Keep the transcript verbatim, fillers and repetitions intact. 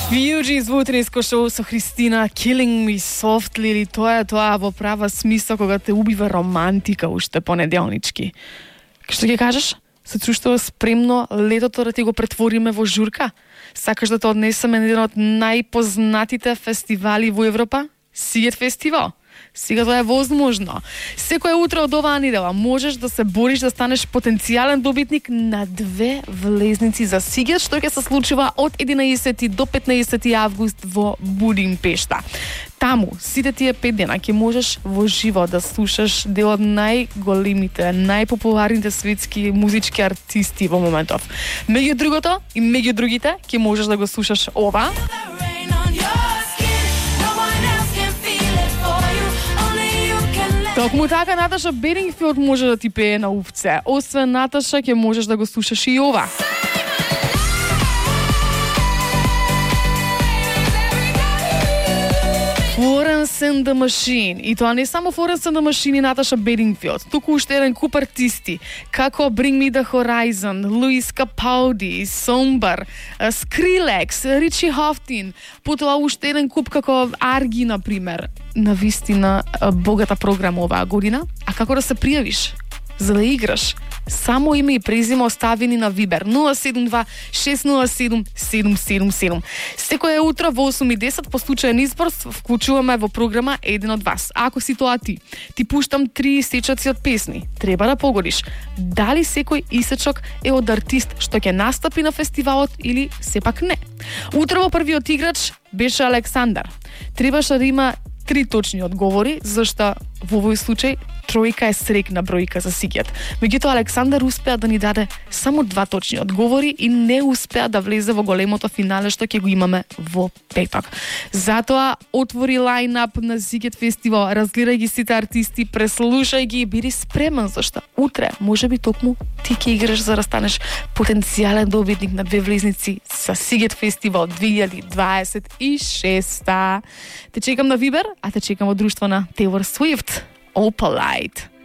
Fugees во утринско шоу со Христина, Killing Me Softly, или тоа е тоа во права смисла кога те убива романтика уште понеделнички. Што ќе кажеш? Се чувствува спремно летото да ти го претвориме во журка? Сакаш да те однесеме на еден од најпознатите фестивали во Европа? Сигет фестивал. Сега тоа е возможно. Секоја утро од оваа недела можеш да се бориш да станеш потенцијален добитник на две влезници за Сигет, што ќе се случува од единаесети до петнаесети август во Будимпешта. Таму, сите тие пет дена ќе можеш во живо да слушаш дел од најголемите, најпопуларните светски музички артисти во моментов. Меѓу другото и меѓу другите ќе можеш да го слушаш ова. Токму така Наташа Бедингфилд може да ти пее на увце. Освен Наташа ќе можеш да го слушаш и ова. Florence and the Machine. И тоа не само Florence and the Machine и Наташа Бедингфилд, туку уште еден куп артисти, како Bring Me the Horizon, Луис Капалди, Somber, Skrillex, Ричи Хофтин, потоа уште еден куп како Арги, например. На вистина богата програма оваа година. А како да се пријавиш за да играш? Само име и презиме оставени на Вибер нула седум два шест нула седум седум седум седум. Секоја утро во осум и десет по случаен избор вклучуваме во програма еден од вас. Ако си тоа ти, ти пуштам три исечоци од песни. Треба да погодиш дали секој исечок е од артист што ќе настапи на фестивалот или сепак не. Утро во првиот играч беше Александар. Требаше да има три точни одговори, зашто во овој случај тројка е срекна бројка за Сигет. Меѓутоа Александар успеа да ни даде само два точни одговори и не успеа да влезе во големото финале што ќе го имаме во петок. Затоа отвори лајнап на Сигет фестивал, разгледај ги сите артисти, преслушај ги и биди спремен, зашто утре можеби токму ти ќе играш за да станеш потенцијален добитник на две влезници за Сигет фестивал две илјади дваесет и шеста. Те чекам на Вибер, а те чекам во друштво на Taylor Swift. Opalite.